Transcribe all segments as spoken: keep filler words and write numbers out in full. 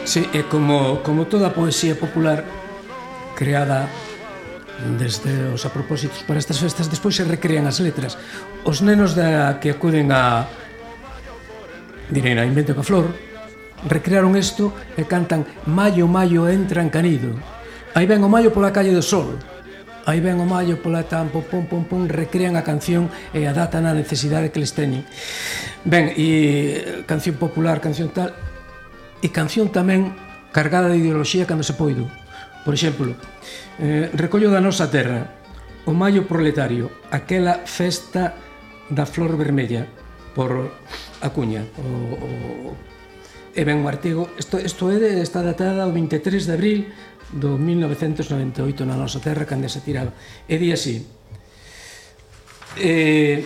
Sí, é como, como toda a poesía popular creada desde os apropósitos para estas festas, despois se recrean as letras. Os nenos da, que acuden a direi na Invento ca Flor recrearon isto e cantan Maio, maio entra en canido, aí ven o maio pola calle do sol, aí ven o maio pola tampo, pom, pom, pom, recrean a canción e adaptan a necesidade que les teñen. Ben, e canción popular, canción tal, e canción tamén cargada de ideoloxía cando se poido. Por exemplo, eh, recollo da nosa terra, o Maio Proletario, aquela festa da flor vermella, por Acuña. O, o, e ben o artigo, isto, isto é de, está datada o vinte e tres de abril do mil novecentos noventa e oito na nosa terra, cando se tiraba. E di así, eh,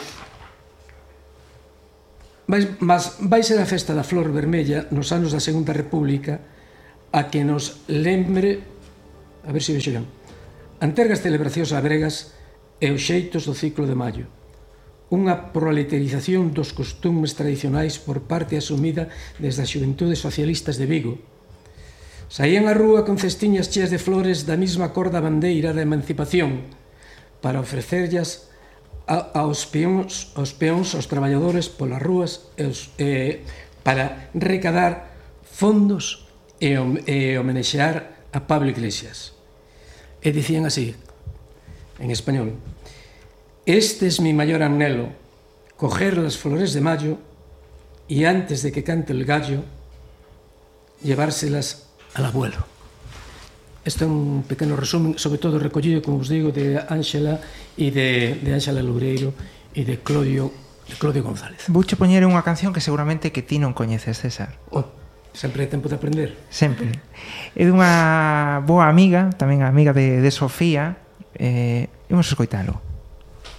vai, mas vai ser a festa da flor vermella nos anos da Segunda República a que nos lembre, a ver se vexo ben, antergas celebracións labregas e os xeitos do ciclo de maio, unha proletarización dos costumes tradicionais por parte asumida desde as xuventudes socialistas de Vigo. Saían á rúa con cestiñas cheas de flores da mesma cor da bandeira da emancipación para ofrecerllas aos peóns, aos peóns, aos traballadores polas rúas e os, eh, para recadar fondos e, e homenexear a Pablo Iglesias. E dicían así, en español: este es mi mayor anhelo, coger las flores de mayo y antes de que cante el gallo, llevárselas al abuelo. Este é un pequeno resumen, sobre todo recollido, como os digo, de Ángela e de, de Ángela Loureiro e de Claudio, de Claudio González. Vouche poñer unha canción que seguramente que ti non coñeces, César. Oh, sempre é tempo de aprender. Sempre. É dunha boa amiga, tamén amiga de, de Sofía, eh, imos escoitalo.